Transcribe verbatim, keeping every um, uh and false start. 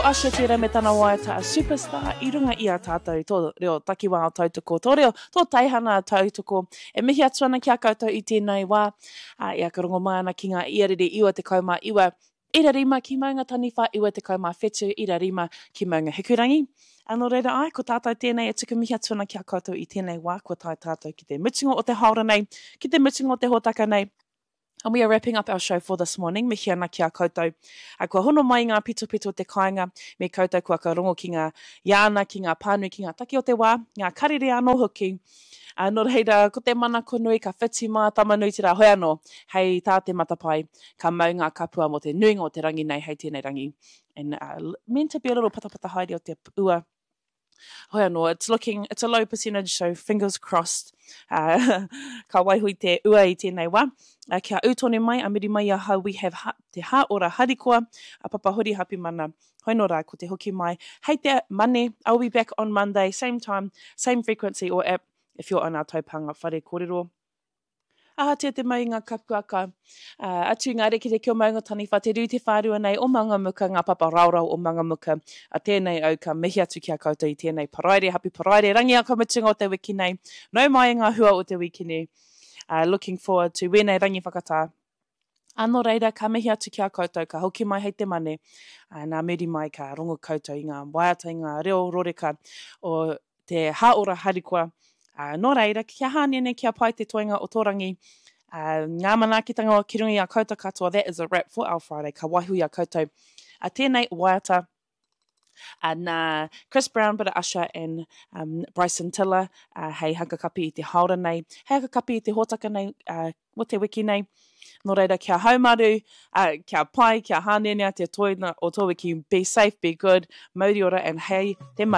Usher tērā me tana waiata a Superstar i runga i a tātou tō reo takiwā o tautoko, tō reo, tō teihana tautoko. E mihi atu ana ki a koutou i tēnei wā, ā, e aka rongo mai ana ki ngā iarere iwa tekau mā iwa, ira rima ki Maunga Taniwha, iwa tekau mā whetu, ira rima ki Maunga Hikurangi. Ā, nō reira ai, ko tātou tēnei e tuku mihi atu ana ki a koutou i tēnei wā, kua tae tātou ki te mutunga o te haora nei, ki te mutunga o te hōtaka nei. And we are wrapping up our show for this morning. Mihi ana ki a koutou. A kua hono mai ngā pitopito o te kāinga, me koutou kua ka rongo ki ngā iāna, ki ngā pānui, ki ngā take o te wā, ngā karere anō hoki. A, nō reira, ko te manako nui ka whiti mā Tamanui te rā, hoi anō, hei tā te matapae, ka mau ngā kapua mō te nuinga o te rangi nei hei tēnei rangi. And uh, meant to be a little patapata haere o te ua. Hoi anō, it's looking, it's a low percentage, so fingers crossed. Uh, ka waiho i te ua i tēnei wā. Uh, kia ū tonu mai, a muri mai i ahau, we have ha, te hā ora harikoa, a Papa Hori Hapimana. Hoi nō rā, ko te hoki mai. Hei te mane, I'll be back on Monday, same time, same frequency or app, if you're on our taupanga whare kōrero. Ahatia te mau i ngā kapuaka, uh, atu i ngā rekereke o Maunga Taniwha, te rū te whārua nei o Mangamuka, ngā papa raorao o Mangamuka. A tēnei au ka mihi atu ki a koutou i tēnei paraire, happy paraire, rangi a mutunga o te wiki nei. Nau mai i ngā hua o te wiki nei. Uh, looking forward to wēnei rangi whakatā. Anō reira, ka mihi atu ki a koutou, ka hoki mai hei te mane. Uh, nā muri mai ka rongo koutou i ngā waiata, i ngā reo roreka o te hāora harikoa. Uh, nō reira, kia hānene, kia pai te toenga o tō rangi. Uh, ngā manaakitanga o ki runga i a koutou katoa, that is a wrap for our Friday. Ka waiho i a koutou. A tēnei waiata uh, nā Chris Brown, bit of Usher and um, Bryson Tiller uh, hei hakakapi i te haora nei, hei hakakapi i te hōtaka nei, uh, o te wiki nei. Nō reira, kia haumaru, uh, kia pai, kia hānenea te toina o tō wiki. Be safe, be good, mauri ora and hei te mane.